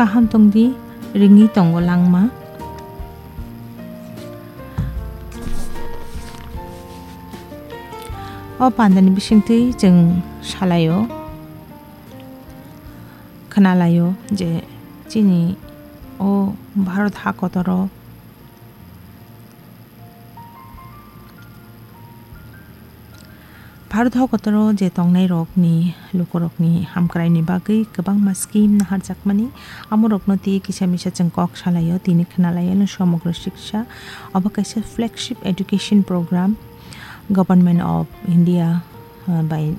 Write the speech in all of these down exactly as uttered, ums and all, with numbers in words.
Kaham tongdi, ringwi tongo langma. O pandani bisingtwi chwng salaio, khwnalaio je chini o Bharat ha kotoro Bharat ha kotoro je tongnairokni lukurokni hamkraini bagwi kwbangma scheme naharjakmani, amorokno twi kisa misa chwng kok salaio, tini khwnalaio no Somogro Shiksha. Obo kaisa flagship education program Government of India, uh, bai,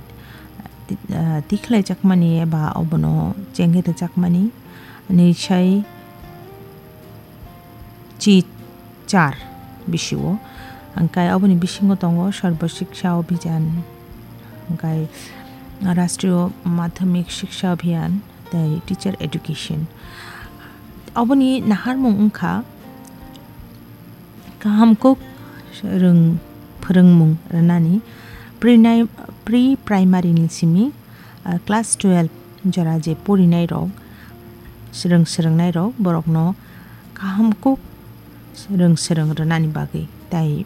uh, tikhlaijakmani eba obono chengwi rwjakmani. Nwi sai chi char bisio. Hingkai oboni bisingo tongo Sarva Shiksha Abhiyan, hingkai Rashtriya Madhyamik Shiksha Abhiyan tei Teacher Education. Oboni naharmung wngkha kaham kuk rwng phwrwngmung rwnani, pre-, pre-primary ni simi ah, class twelve jora je porinai rok, swrwng swrwngnai rok, borokno kaham kuk swrwng swrwng rwnani bagwi, tei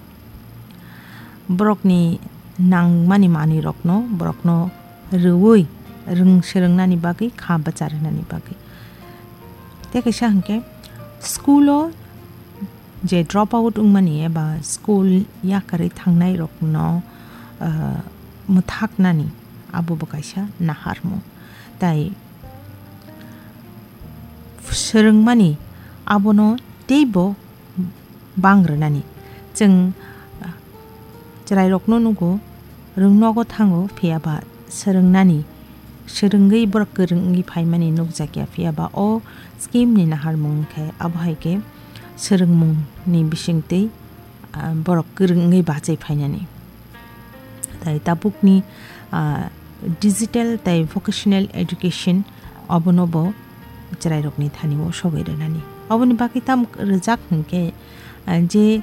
borokni nangmani manwi rokno borokno rwui rwng swrwngnani bagwi, kha bwcha rwnani bagwi. Tei kaisa hwnkhe school o je drop out wngmani eba school yakarwi thangnai rokno, ah, mwthaknani abo bo kaisa naharmung. Tai swrwngmani abono teibo bang rwnani. Chwng, ah, chwrairokno nugo, rwng nogo thango, phiya ba swrwngnani, swrwngwi borok kwrwng wngwi phaimani nukjakya, phiya ba o scheme ni naharmung khe abo hai khe swrwngmung ni bisingtwi, ah, borok kwrwng wngwi bachai phainani. Tai tabukni, ah, digital tai vocational education obono bo chwrairokni thani o sogwi rwnani. Oboni bagwi tamo rwjak hwnkhe, ah, je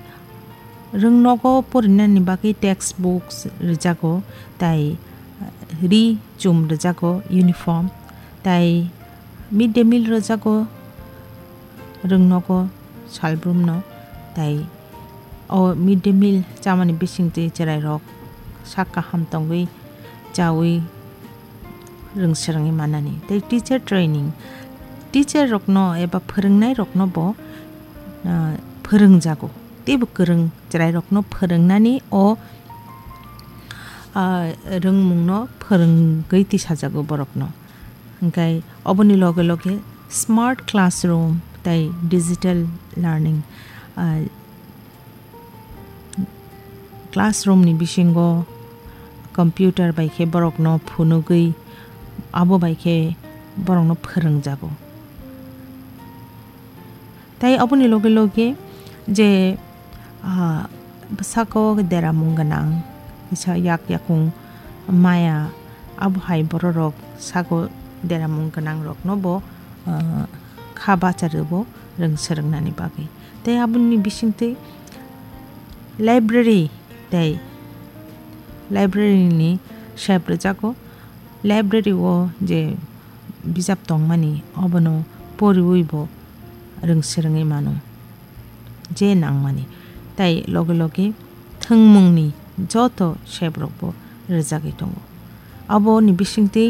rwng nogo porinani bagwi text books rwjago, tai, ah, ri chum rwjago, uniform, tai mid day meal rwjago rwng nogo salbrumno, tai o mid day meal chamani bisingtwi chwrairok sak kaham tongwi chaui rwng swrwngwi manani. Tei teacher training, teacher rokno eba phwrwngnairokno bo, ah, phwrwngjago. Teibo kwrwng chwrairokno phwrwngnani o, ah, rwngmungno phwrwngwi tisajago borokno. Hingkai oboni loge loge smart classroom tei digital learning, ah, classroom ni bisingo computer bai khe borokno phunugwi abo bai khe borokno phwrwngjago. Tai oboni loge loge je, ah, sako deramung gwnang, kisa yak yakung maya, abo hai bororok sako deramung gwnangrokno bo, ah, kha bacha rwbo rwng swrwngnani bagwi. Tei aboni bisingtwi library tei library ni sep rwjago. Library o je bijap tongmani obono poriwi bo rwng swrwngwi mano je nangmani. Tai loge loge thwngmungni joto sep rokbo rwjagwi tongo. Aboni bisingtwi